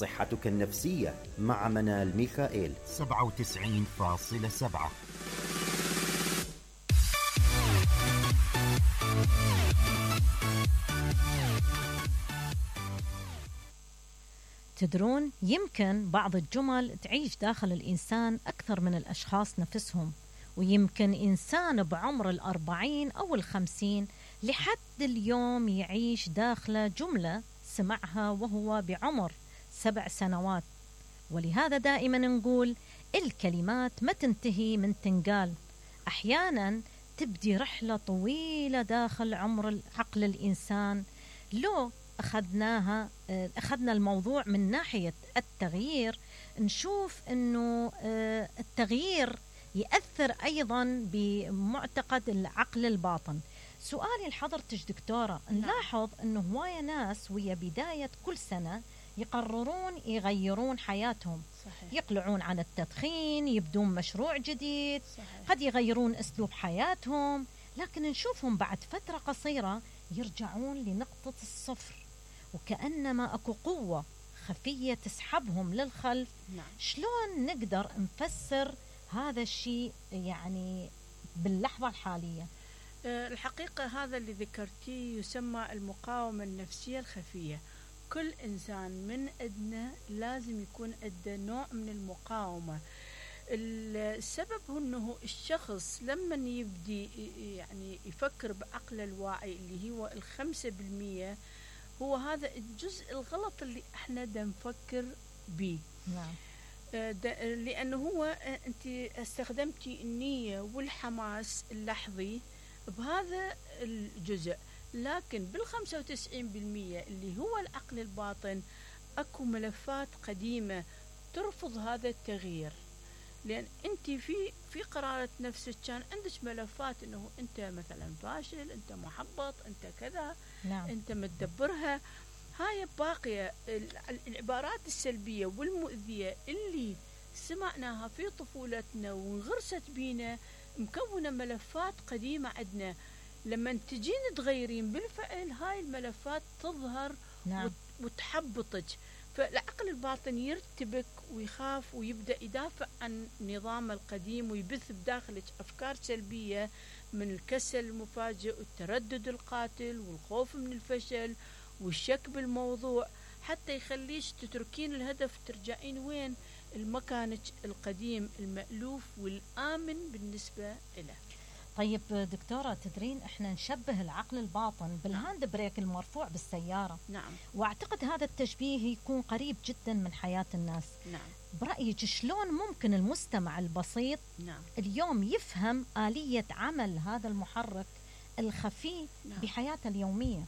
صحتك النفسية مع منال ميخائيل 97.7. تدرون يمكن بعض الجمل تعيش داخل الإنسان أكثر من الأشخاص نفسهم، ويمكن إنسان بعمر 40 أو 50 لحد اليوم يعيش داخل جملة سمعها وهو بعمر 7 سنوات. ولهذا دائما نقول الكلمات ما تنتهي من تنقال، أحيانا تبدي رحلة طويلة داخل عقل الإنسان. لو أخذنا الموضوع من ناحية التغيير، نشوف أنه التغيير يأثر أيضا بمعتقد العقل الباطن. سؤالي لحضرتك دكتورة، نلاحظ أنه هواية ناس ويا بداية كل سنة يقررون يغيرون حياتهم. صحيح. يقلعون عن التدخين، يبدون مشروع جديد. صحيح. قد يغيرون أسلوب حياتهم، لكن نشوفهم بعد فترة قصيرة يرجعون لنقطة الصفر، وكأنما أكو قوة خفية تسحبهم للخلف. نعم. شلون نقدر نفسر هذا الشيء يعني باللحظة الحالية؟ الحقيقة هذا اللي ذكرتيه يسمى المقاومة النفسية الخفية. كل إنسان من أدنى لازم يكون أدى نوع من المقاومة. السبب هو أنه الشخص لما يبدي يعني يفكر بعقله الواعي اللي هو 5%، هو هذا الجزء الغلط اللي احنا دا نفكر به. نعم. لأنه هو أنت استخدمتي النية والحماس اللحظي بهذا الجزء، لكن بال95% اللي هو العقل الباطن أكو ملفات قديمة ترفض هذا التغيير. لأن أنت في قرارة نفسك كان عندك ملفات أنه أنت مثلا فاشل، أنت محبط، أنت كذا. نعم. أنت متدبرها. هاي باقية العبارات السلبية والمؤذية اللي سمعناها في طفولتنا وانغرست بينا، مكونة ملفات قديمة عندنا. لما تجين تغيرين بالفعل هاي الملفات تظهر. نعم. وتحبطك، فالعقل الباطن يرتبك ويخاف ويبدأ يدافع عن نظام القديم، ويبث بداخلك أفكار سلبية من الكسل المفاجئ والتردد القاتل والخوف من الفشل والشك بالموضوع، حتى يخليش تتركين الهدف ترجعين وين؟ المكانك القديم المألوف والآمن بالنسبة له. طيب دكتورة، تدرين احنا نشبه العقل الباطن بالهاند بريك المرفوع بالسيارة. نعم. واعتقد هذا التشبيه يكون قريب جدا من حياة الناس. نعم. برأيك شلون ممكن المستمع البسيط نعم. اليوم يفهم آلية عمل هذا المحرك الخفي نعم. بحياته اليومية؟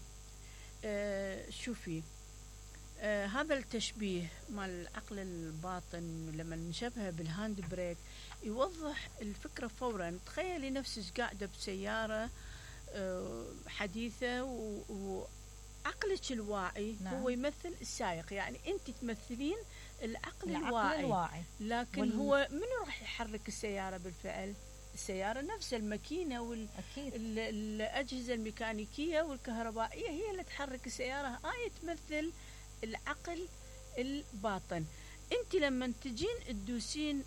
شوفي، هذا التشبيه مال العقل الباطن لما نشبهه بالهاند بريك يوضح الفكرة فورا. تخيلي نفسك قاعدة بسيارة حديثة وعقلك الواعي. نعم. هو يمثل السائق، يعني أنت تمثلين العقل الواعي. لكن هو منو راح يحرك السيارة بالفعل؟ السيارة نفسها، الماكينة والأجهزة الميكانيكية والكهربائية هي اللي تحرك السيارة. هاي تمثل العقل الباطن. انت لما تجين تدوسين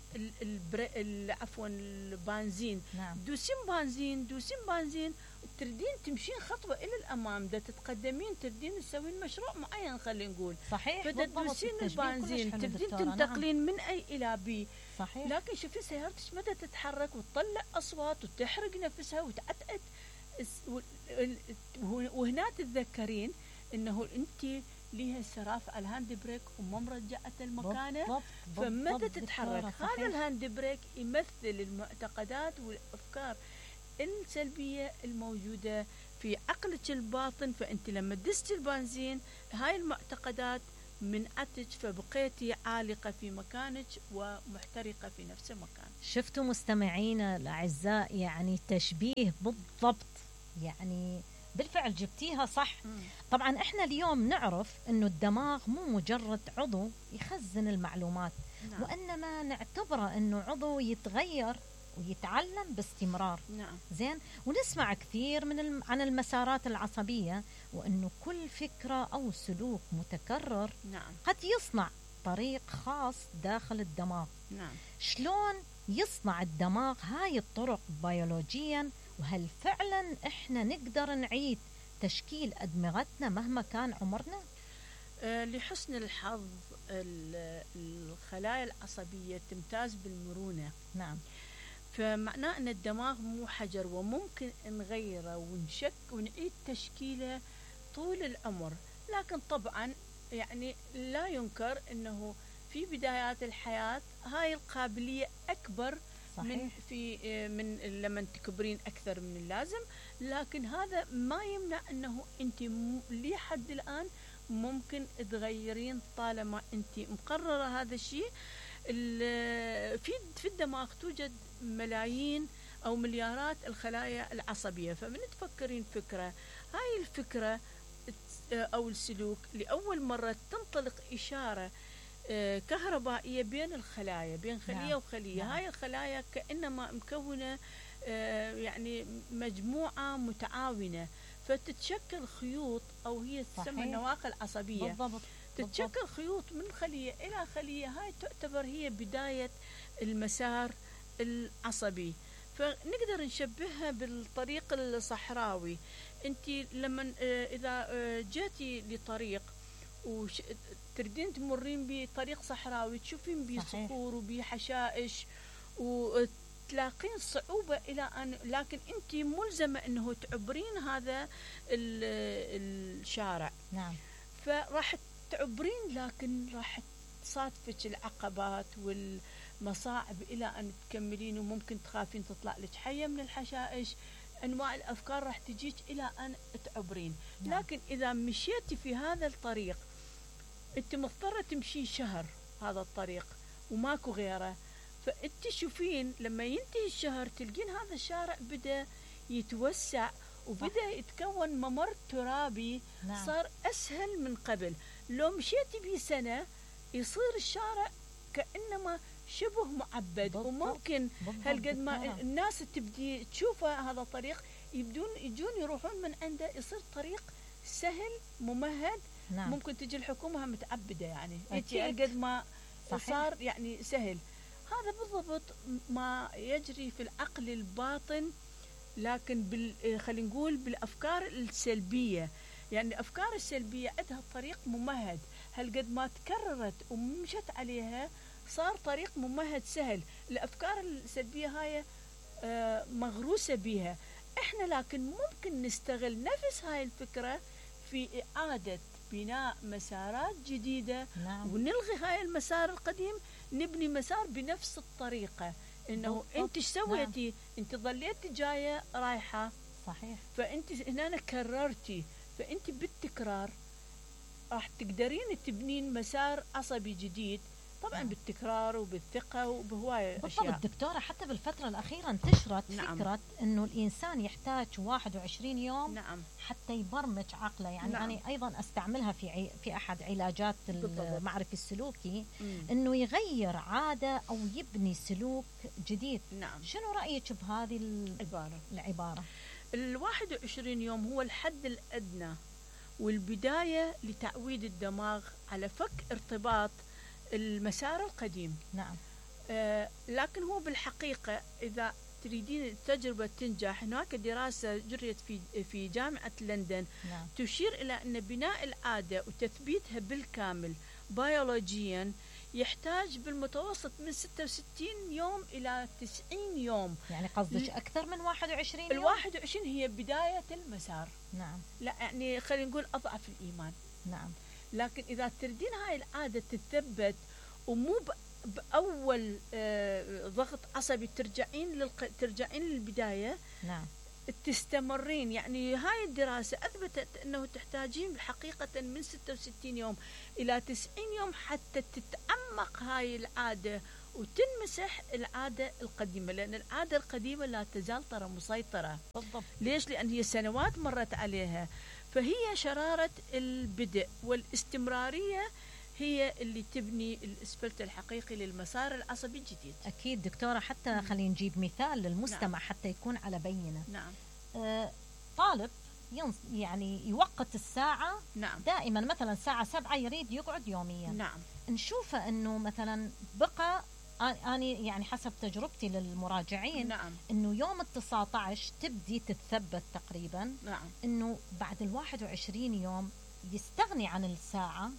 البنزين. نعم. دوسين بنزين وتردين تمشين خطوة إلى الأمام، دا تتقدمين، تردين تسوين مشروع معين خلينا نقول. صحيح. فتدوسين البنزين تبدين تنتقلين. نعم. من أي إلى بي. صحيح. لكن شوفي سيارتك مدى تتحرك وتطلع أصوات وتحرق نفسها وتعتقد. وهنا تتذكرين إنه أنت ليها السراف على الهاند بريك وما مرجعة المكانة، فمتى تتحرك. هذا الهاند بريك يمثل المعتقدات والأفكار السلبية الموجودة في عقلك الباطن. فأنت لما دست البنزين هاي المعتقدات منعتك، فبقيتي عالقة في مكانك ومحترقة في نفس المكان. شفتوا مستمعينا الأعزاء، يعني تشبيه بالضبط، يعني بالفعل جبتيها صح. طبعا احنا اليوم نعرف انه الدماغ مو مجرد عضو يخزن المعلومات. نعم. وانما نعتبره انه عضو يتغير ويتعلم باستمرار. نعم. زين. ونسمع كثير عن المسارات العصبية، وانه كل فكرة او سلوك متكرر. نعم. قد يصنع طريق خاص داخل الدماغ. نعم. شلون يصنع الدماغ هاي الطرق بيولوجيا، وهل فعلا احنا نقدر نعيد تشكيل أدمغتنا مهما كان عمرنا؟ لحسن الحظ الخلايا العصبية تمتاز بالمرونة. نعم. فمعناه أن الدماغ مو حجر، وممكن نغيره ونعيد تشكيله طول العمر. لكن طبعا يعني لا ينكر أنه في بدايات الحياة هاي القابلية أكبر. صحيح. من لما تكبرين أكثر من اللازم، لكن هذا ما يمنع أنه أنت لحد الآن ممكن تغيرين طالما أنت مقررة هذا الشيء. في الدماغ توجد ملايين أو مليارات الخلايا العصبية. فمن تفكرين فكرة، هاي الفكرة أو السلوك لأول مرة تنطلق إشارة كهربائية بين الخلايا، بين خلية نعم. وخلية. نعم. هاي الخلايا كأنما مكونة يعني مجموعة متعاونة، فتتشكل خيوط، أو هي تسمى النواقل العصبية. بالضبط. تتشكل خيوط من خلية إلى خلية. هاي تعتبر هي بداية المسار العصبي. فنقدر نشبهها بالطريق الصحراوي. انت لما اذا جيتي لطريق وتردين تمرين بطريق صحراوي، تشوفين بيه صخور وبيه حشائش وتلاقين صعوبة إلى أن، لكن أنت ملزمة أنه تعبرين هذا الشارع. نعم. فراح تعبرين، لكن راح تصادفك العقبات والمصاعب إلى أن تكملين، وممكن تخافين تطلع لك حية من الحشائش. أنواع الأفكار راح تجيك إلى أن تعبرين. نعم. لكن إذا مشيتي في هذا الطريق، أنت مضطرة تمشي شهر هذا الطريق وماكو غيره. فأنت شوفين لما ينتهي الشهر تلقين هذا الشارع بدأ يتوسع وبدأ يتكون ممر ترابي. نعم. صار أسهل من قبل. لو مشيتي بيه سنة يصير الشارع كأنما شبه معبد. بالضبط. وممكن هالقد ما بالضبط. الناس تبدي تشوفه هذا الطريق يجون يروحون من عنده، يصير طريق سهل ممهد. نعم. ممكن تجي الحكومة متعبدة يعني أكيد. قد ما صحيح. صار يعني سهل. هذا بالضبط ما يجري في العقل الباطن، لكن خلينا نقول بالأفكار السلبية. يعني الأفكار السلبية عندها طريق ممهد، هالقد ما تكررت ومشت عليها صار طريق ممهد سهل. الأفكار السلبية هاي مغروسة بها إحنا، لكن ممكن نستغل نفس هاي الفكرة في إعادة بناء مسارات جديدة. نعم. ونلغي هاي المسار القديم، نبني مسار بنفس الطريقة. إنه بالضبط. أنت سويتي. نعم. أنت ظليتي جاية رايحة. صحيح. فأنت هنا كررتي، فأنت بالتكرار راح تقدرين تبنين مسار عصبي جديد. طبعا نعم. بالتكرار وبالثقة وبهواية بالضبط. أشياء. دكتورة، حتى بالفترة الأخيرة انتشرت نعم. فكرة أنه الإنسان يحتاج 21 يوم نعم. حتى يبرمج عقله. يعني نعم. أنا أيضا أستعملها في أحد علاجات بالضبط. المعرفي السلوكي، أنه يغير عادة أو يبني سلوك جديد. نعم. شنو رأيك بهذه العبارة؟ 21 يوم هو الحد الأدنى والبداية لتعويد الدماغ على فك ارتباط المسار القديم. نعم. لكن هو بالحقيقة إذا تريدين التجربة تنجح، هناك دراسة جريت في جامعة لندن. نعم. تشير إلى أن بناء العادة وتثبيتها بالكامل بيولوجيا يحتاج بالمتوسط من 66 يوم إلى 90 يوم. يعني قصدك أكثر من 21 يوم؟ 21 هي بداية المسار. نعم. لا يعني خلينا نقول أضعف الإيمان. نعم. لكن إذا تردين هاي العادة تثبت، ومو بأول ضغط عصبي ترجعين للبداية. نعم. تستمرين. يعني هاي الدراسة أثبتت أنه تحتاجين حقيقة من 66 يوم إلى 90 يوم حتى تتعمق هاي العادة وتنمسح العادة القديمة، لأن العادة القديمة لا تزال ترى مسيطرة. بالضبط. ليش؟ لأن هي سنوات مرت عليها. فهي شرارة البدء والاستمرارية هي اللي تبني الاسفلت الحقيقي للمسار العصبي الجديد. أكيد دكتورة. حتى خلينا نجيب مثال للمستمع. نعم. حتى يكون على بينة. نعم. طالب يعني يوقت الساعة. نعم. دائما مثلا الساعة 7 يريد يقعد يوميا. نعم. نشوفه أنه مثلا بقى، أنا يعني حسب تجربتي للمراجعين، نعم. أنه يوم 19 تبدي تتثبت تقريبا. نعم. أنه بعد 21 يوم يستغني عن الساعة.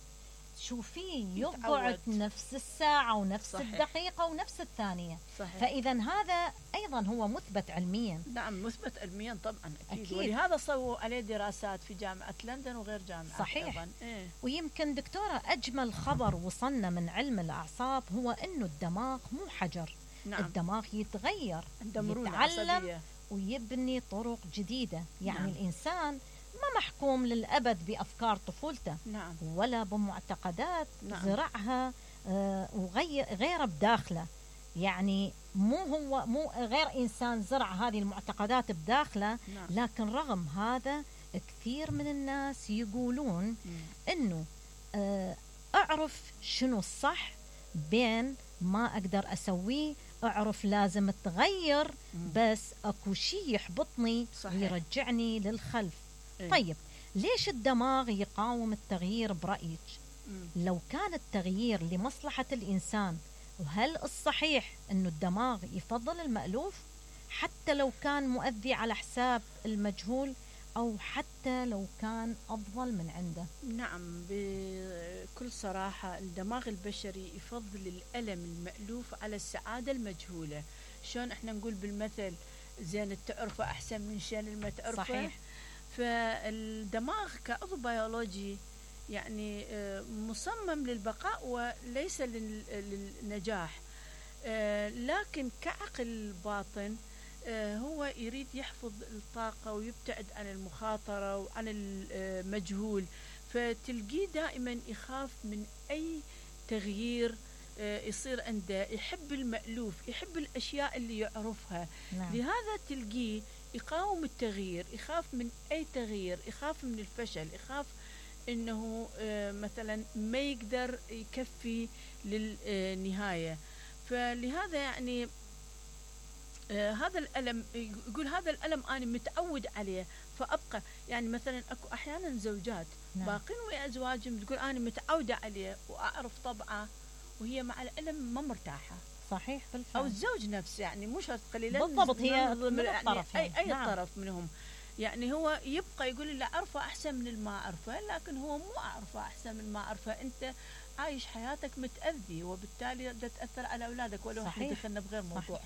شوفيه يقعد نفس الساعة ونفس صحيح. الدقيقة ونفس الثانية. صحيح. فإذا هذا أيضا هو مثبت علميا. نعم مثبت علميا طبعا أكيد. أكيد. ولهذا سووا عليه دراسات في جامعة لندن وغير جامعة. صحيح. أيضا. إيه. ويمكن دكتورة أجمل خبر وصلنا من علم الأعصاب هو أنه الدماغ مو حجر. نعم. الدماغ يتغير، مرونة يتعلم عصبية. ويبني طرق جديدة. يعني نعم. الإنسان ما محكوم للأبد بأفكار طفولته. نعم. ولا بمعتقدات نعم. زرعها وغير بداخله. يعني مو غير إنسان زرع هذه المعتقدات بداخله. نعم. لكن رغم هذا كثير من الناس يقولون إنه أعرف شنو الصح بين ما أقدر أسويه، أعرف لازم أتغير، بس أكو شيء يحبطني. صحيح. ويرجعني للخلف. إيه؟ طيب ليش الدماغ يقاوم التغيير برأيك؟ لو كان التغيير لمصلحة الإنسان، وهل الصحيح أنه الدماغ يفضل المألوف حتى لو كان مؤذي على حساب المجهول، أو حتى لو كان أفضل من عنده؟ نعم بكل صراحة الدماغ البشري يفضل الألم المألوف على السعادة المجهولة. شلون احنا نقول بالمثل زين التعرفة أحسن من شان الما تعرفه. صحيح. فالدماغ كعضو بيولوجي يعني مصمم للبقاء وليس للنجاح. لكن كعقل باطن هو يريد يحفظ الطاقة ويبتعد عن المخاطرة وعن المجهول. فتلقيه دائما يخاف من أي تغيير يصير عنده. يحب المألوف، يحب الأشياء اللي يعرفها. نعم. لهذا تلقيه يقاوم التغيير، يخاف من أي تغيير، يخاف من الفشل، يخاف إنه مثلا ما يقدر يكفي للنهاية. فلهذا يعني هذا الألم، يقول هذا الألم أنا متعود عليه فأبقى. يعني مثلا أكو أحيانا زوجات نعم. باقين ويا أزواجهم تقول أنا متعودة عليه وأعرف طبعه، وهي مع الألم ما مرتاحة. صحيح بالفعل. أو الزوج نفسه يعني مش قليلا بالضبط، هي من يعني الطرف أي نعم. طرف منهم. يعني هو يبقى يقول اللي أعرفه أحسن من اللي ما أعرفه، لكن هو مو أعرفه أحسن من ما أعرفه. أنت عايش حياتك متأذي، وبالتالي تأثر على أولادك. ولو احنا دخلنا بغير موضوع.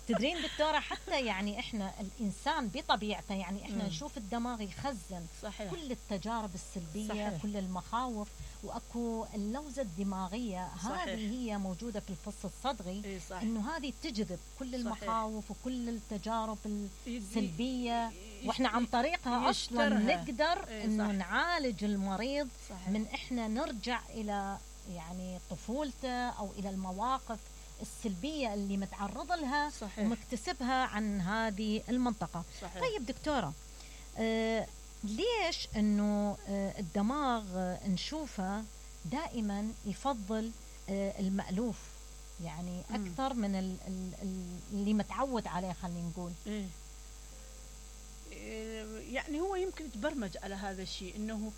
تدرين دكتورة، حتى يعني إحنا الإنسان بطبيعته يعني إحنا نشوف الدماغ يخزن. صحيح. كل التجارب السلبية. صحيح. كل المخاوف. وأكو اللوزة الدماغية. صحيح. هذه هي موجودة في الفص الصدغي. صحيح. إنه هذه تجذب كل المخاوف وكل التجارب السلبية، وإحنا عن طريقها أصلا نقدر إنه نعالج المريض. صحيح. من إحنا نرجع إلى يعني طفولته أو إلى المواقف السلبية اللي متعرض لها. صحيح. ومكتسبها عن هذه المنطقة. صحيح. طيب دكتورة، ليش أنه الدماغ نشوفه دائما يفضل المألوف يعني أكثر من اللي متعود عليه، خلينا نقول؟ يعني هو يمكن تبرمج على هذا الشيء، إنه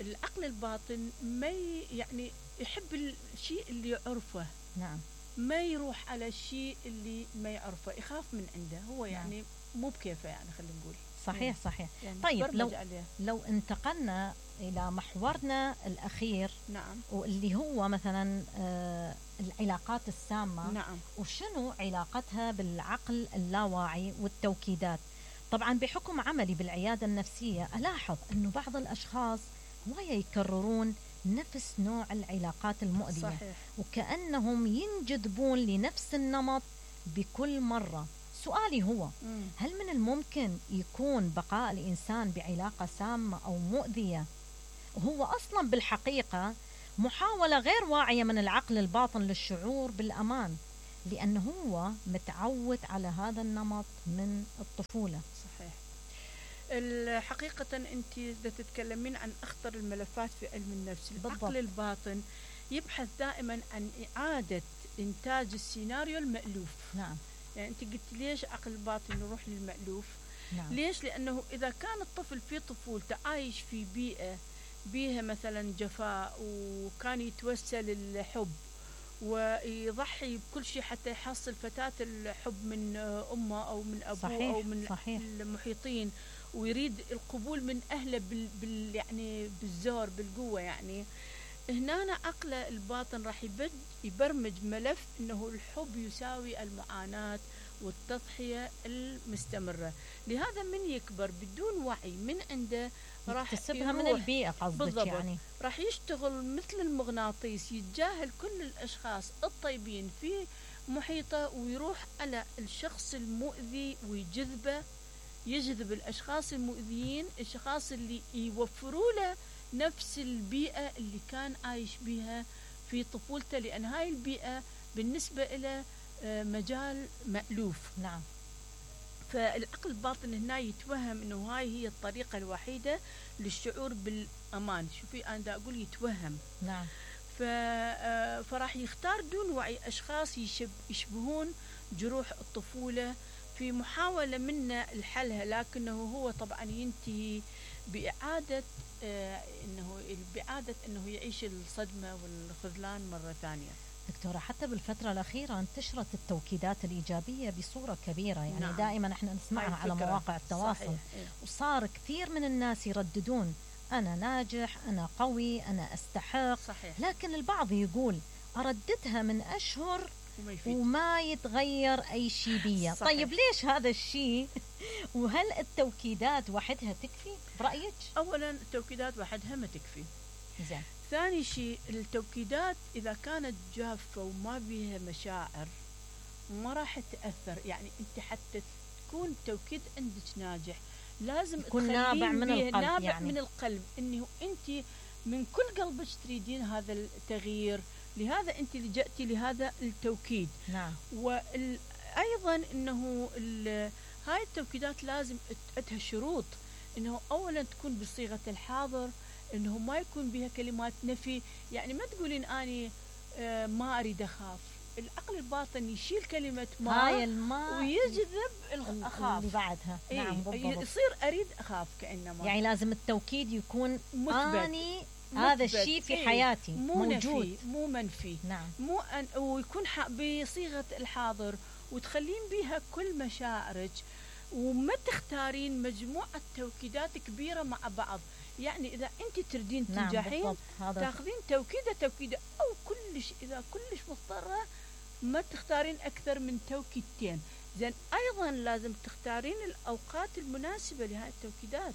العقل الباطن ما يعني يحب الشيء اللي يعرفه. نعم. ما يروح على الشيء اللي ما يعرفه، يخاف من عنده هو. يعني نعم. مو بكيفه يعني خلينا نقول. صحيح. صحيح. يعني طيب لو انتقلنا إلى محورنا الأخير. نعم. واللي هو مثلا العلاقات السامة. نعم. وشنو علاقتها بالعقل اللاواعي والتوكيدات؟ طبعا بحكم عملي بالعيادة النفسية ألاحظ أنه بعض الأشخاص هواية يكررون نفس نوع العلاقات المؤذية. صحيح. وكأنهم ينجذبون لنفس النمط بكل مرة. سؤالي هو هل من الممكن يكون بقاء الإنسان بعلاقة سامة أو مؤذية وهو أصلا بالحقيقة محاولة غير واعية من العقل الباطن للشعور بالأمان، لأنه هو متعود على هذا النمط من الطفولة؟ صحيح. الحقيقة أنت تتكلمين عن أخطر الملفات في علم النفس. العقل الباطن يبحث دائما عن إعادة إنتاج السيناريو المألوف. نعم. يعني أنت قلت ليش عقل الباطن يروح للمألوف؟ نعم. ليش؟ لأنه إذا كان الطفل في طفولته عايش في بيئة بيها مثلا جفاء، وكان يتوسل الحب ويضحي بكل شيء حتى يحصل فتاة الحب من أمه أو من أبوه، صحيح. أو من صحيح. المحيطين، ويريد القبول من أهله يعني بالزور بالقوة، يعني هنا عقله الباطن راح يبرمج ملف انه الحب يساوي المعاناة والتضحية المستمرة. لهذا من يكبر بدون وعي من عنده راح يكتسبها من البيئة قصدك، يعني راح يشتغل مثل المغناطيس، يتجاهل كل الاشخاص الطيبين في محيطه ويروح على الشخص المؤذي ويجذبه، يجذب الاشخاص المؤذيين، الاشخاص اللي يوفروا له نفس البيئة اللي كان عايش بها في طفولته، لأن هاي البيئة بالنسبة إلى مجال مألوف. نعم. فالعقل الباطن هنا يتوهم إنه هاي هي الطريقة الوحيدة للشعور بالأمان. شوفي أنا دا أقول يتوهم. نعم. فراح يختار دون وعي أشخاص يشبهون جروح الطفولة في محاولة منه لحلها، لكنه هو طبعا ينتهي بإعادة إنه يعيش الصدمة والخذلان مرة ثانية. دكتورة، حتى بالفترة الأخيرة انتشرت التوكيدات الإيجابية بصورة كبيرة، يعني نعم. دائما احنا نسمعها على مواقع التواصل. صحيح. وصار كثير من الناس يرددون أنا ناجح، أنا قوي، أنا أستحق. صحيح. لكن البعض يقول أرددها من أشهر وما يتغير أي شيء بيا. طيب ليش هذا الشيء؟ وهل التوكيدات وحدها تكفي برأيك؟ أولا التوكيدات وحدها ما تكفي. زين. ثاني شيء التوكيدات إذا كانت جافة وما بيها مشاعر ما راح تأثر. يعني أنت حتى تكون توكيد عندك ناجح لازم يكون نابع من القلب، نابع يعني من القلب، إنه أنت من كل قلبك تريدين هذا التغيير، لهذا أنت لجأتي لهذا التوكيد. نعم. وأيضا أنه هاي التوكيدات لازم أتها شروط، أنه أولا تكون بصيغة الحاضر، أنه ما يكون بها كلمات نفي. يعني ما تقولين أني ما أريد أخاف. العقل الباطن يشيل كلمة ما هاي الماء ويجذب الأخاف اللي بعدها. نعم بالضبط. يصير أريد أخاف كأنما. يعني لازم التوكيد يكون مثبت. هذا الشيء في حياتي موجود، نفي مو منفي. نعم. ويكون بصيغة الحاضر، وتخلين بها كل مشاعرك، وما تختارين مجموعة توكيدات كبيرة مع بعض. يعني إذا أنت تردين تنجحين، نعم تاخذين توكيدة أو كلش، إذا كلش مضطرة ما تختارين أكثر من توكيدتين. زين أيضا لازم تختارين الأوقات المناسبة لهذه التوكيدات،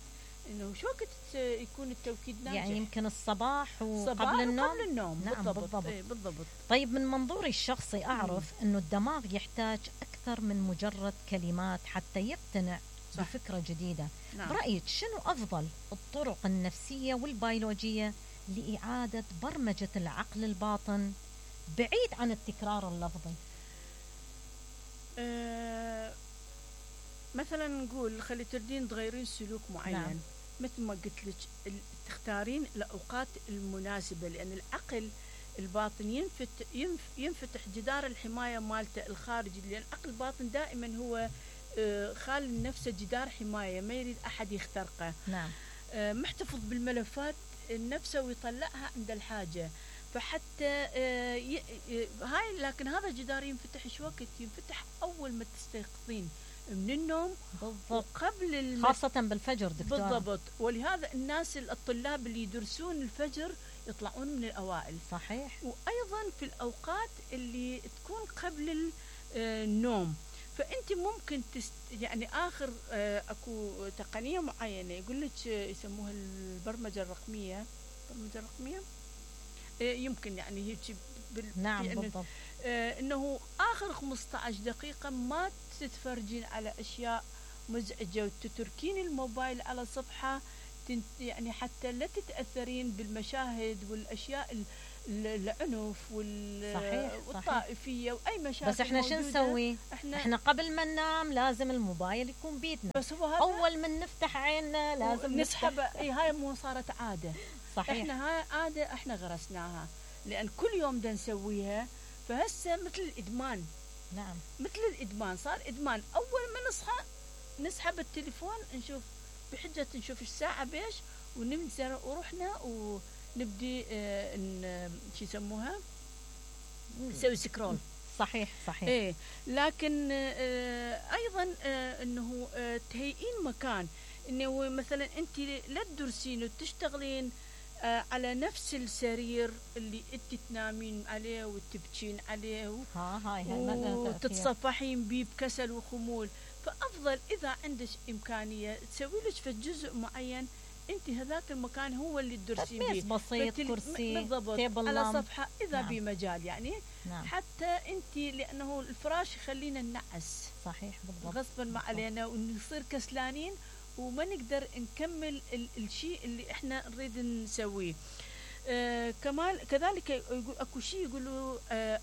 إنه شو وقت يكون التوكيد ناجح. يعني يمكن الصباح وقبل النوم. قبل النوم. نعم بالضبط. بالضبط. طيب من منظوري الشخصي أعرف أنه الدماغ يحتاج أكثر من مجرد كلمات حتى يقتنع بفكرة جديدة. نعم. برأيك شنو أفضل الطرق النفسية والبيولوجية لإعادة برمجة العقل الباطن بعيد عن التكرار اللفظي؟ مثلا نقول خلي تردين تغيرين سلوك معين. نعم. مثل ما قلت لك تختارين الأوقات المناسبة، لأن العقل الباطن ينفتح جدار الحماية مالته الخارجي، لأن العقل الباطن دائما هو خال نفسه جدار حماية ما يريد أحد يخترقه. نعم. محتفظ بالملفات نفسه ويطلعها عند الحاجة. فحتى هاي، لكن هذا الجدار ينفتح شو وقت؟ ينفتح أول ما تستيقظين من النوم. بالضبط. قبل خاصة بالفجر دكتور. بالضبط. ولهذا الناس الطلاب اللي يدرسون الفجر يطلعون من الأوائل. صحيح. وأيضا في الأوقات اللي تكون قبل النوم. فأنت ممكن يعني آخر أكو تقنية معينة يقول لك يسموها البرمجة الرقمية. البرمجة الرقمية يمكن يعني هيك نعم يعني بالضبط. إنه آخر 15 دقيقة ما تتفرجين على أشياء مزعجة، وتتركين الموبايل على صفحة يعني حتى لا تتأثرين بالمشاهد والأشياء العنف والطائفية وأي مشاكل. بس احنا شو نسوي؟ احنا قبل ما ننام لازم الموبايل يكون بيدنا. بس هو أول ما نفتح عيننا لازم نسحب. هاي مو صارت عادة. صحيح. احنا هاي عادة احنا غرسناها، لأن كل يوم دا نسويها. فهسه مثل الإدمان. نعم. مثل الإدمان، صار إدمان. أول ما نصحى نسحب التليفون نشوف بحجة نشوف الساعة بيش وننزل ورحنا ونبدي شو يسموها نسوي سكرول. صحيح صحيح. ايه لكن ايضا انه تهيئين مكان انه مثلا انت لا تدرسين وتشتغلين على نفس السرير اللي انت تنامين عليه وتبكين عليه وتتصفحين بيه بكسل وخمول. فافضل اذا عندك امكانيه تسوي لك في جزء معين انت هذاك المكان هو اللي تدرسين بيه بسيط كرسي بالضبط على صفحه اذا نعم. بمجال يعني نعم. حتى انت لانه الفراش يخلينا ننعس صحيح بالضبط غصبا ما علينا ونصير كسلانين وما نقدر نكمل الشيء اللي احنا نريد نسويه. كمال كذلك اكو شيء يقولوا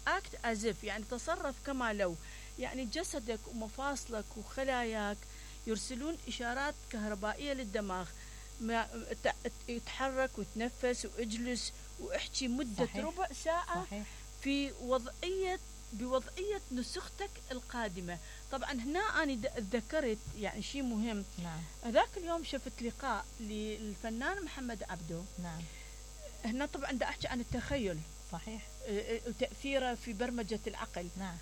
اكت ازف يعني تصرف كما لو يعني جسدك ومفاصلك وخلاياك يرسلون اشارات كهربائيه للدماغ يتحرك وتنفس واجلس واحكي مده صحيح. ربع ساعه صحيح. في بوضعيه نسختك القادمه. طبعا هنا انا تذكرت يعني شيء مهم. نعم. هذاك اليوم شفت لقاء للفنان محمد عبده. نعم. هنا طبعا دا احكي عن التخيل. صحيح. وتاثيره في برمجه العقل. نعم.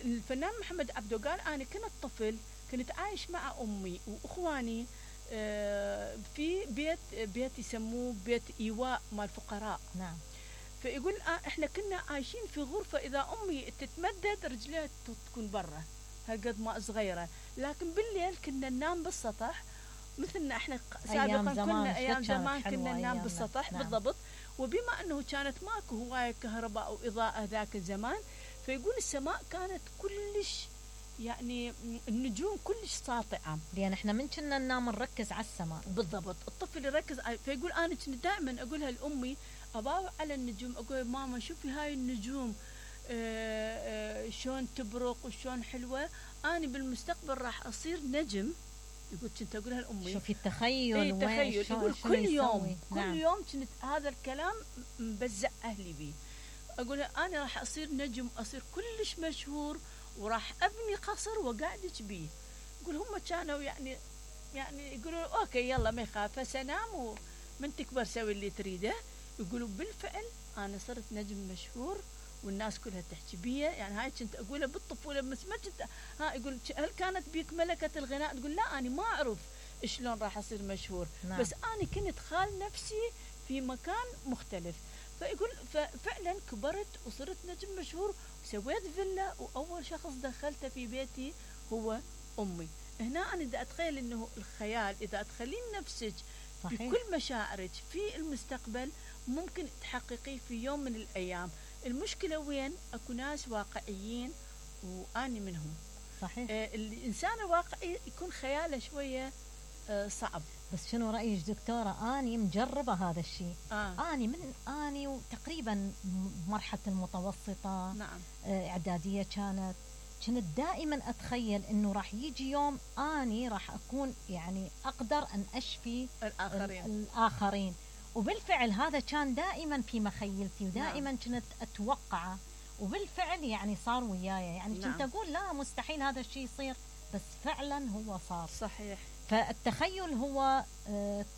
الفنان محمد عبده قال انا كنت طفل كنت عايش مع امي واخواني في بيت يسموه بيت ايواء مال الفقراء. نعم. فيقول احنا كنا عايشين في غرفه اذا امي تتمدد رجليها تكون برا هالقد ما صغيره، لكن بالليل كنا ننام بالسطح مثلنا احنا سابقا كنا ايام زمان كنا ننام بالسطح. نعم. بالضبط. وبما انه كانت ماكو هوايه كهرباء واضاءه ذاك الزمان فيقول السماء كانت كلش يعني النجوم كلش ساطعه لان احنا من كنا ننام نركز على السماء. بالضبط. الطفل يركز فيقول انا كنت دائما اقولها لامي اباوع على النجوم اقول ماما شوفي هاي النجوم شلون تبرق وشلون حلوه انا بالمستقبل راح اصير نجم. يقول كنت اقولها لامي شوفي التخيل. اي تخيل. يقول كل يوم نعم. كل يوم كنت هذا الكلام مبزع اهلي بيه. اقول انا راح اصير نجم اصير كلش مشهور وراح ابني قصر وقاعدك بيه. يقول هم كانوا يعني يقولوا اوكي يلا ما يخاف فسنام ومن تكبر سوي اللي تريده. يقولوا بالفعل انا صرت نجم مشهور والناس كلها تحكي بيه. يعني هاي كنت اقولها بالطفوله بس ما كنت يقول هل كانت بيك ملكه الغناء؟ تقول لا انا ما اعرف شلون راح اصير مشهور. نعم. بس انا كنت خال نفسي في مكان مختلف. فيقول ففعلا كبرت وصرت نجم مشهور وسويت فيلا واول شخص دخلته في بيتي هو امي. هنا انا دا اتخيل انه الخيال اذا تخلين نفسك بكل مشاعرك في المستقبل ممكن تحققيه في يوم من الايام. المشكله وين؟ اكو ناس واقعيين واني منهم. صحيح. الانسان الواقعي يكون خياله شويه صعب. بس شنو رايك دكتوره؟ اني مجربه هذا الشيء. اني وتقريبا مرحله المتوسطه. نعم. اعداديه كنت دائما اتخيل انه راح يجي يوم اني راح اكون يعني اقدر ان اشفي الاخرين. وبالفعل هذا كان دائما في مخيلتي ودائما نعم. كنت اتوقعه وبالفعل يعني صار وياي. يعني كنت اقول لا مستحيل هذا الشيء يصير بس فعلا هو صار. صحيح. فالتخيل هو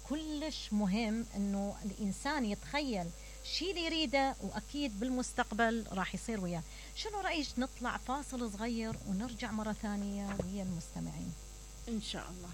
كلش مهم انه الانسان يتخيل شيء اللي يريده واكيد بالمستقبل راح يصير وياه. شنو رايك نطلع فاصل صغير ونرجع مره ثانيه ويا المستمعين ان شاء الله.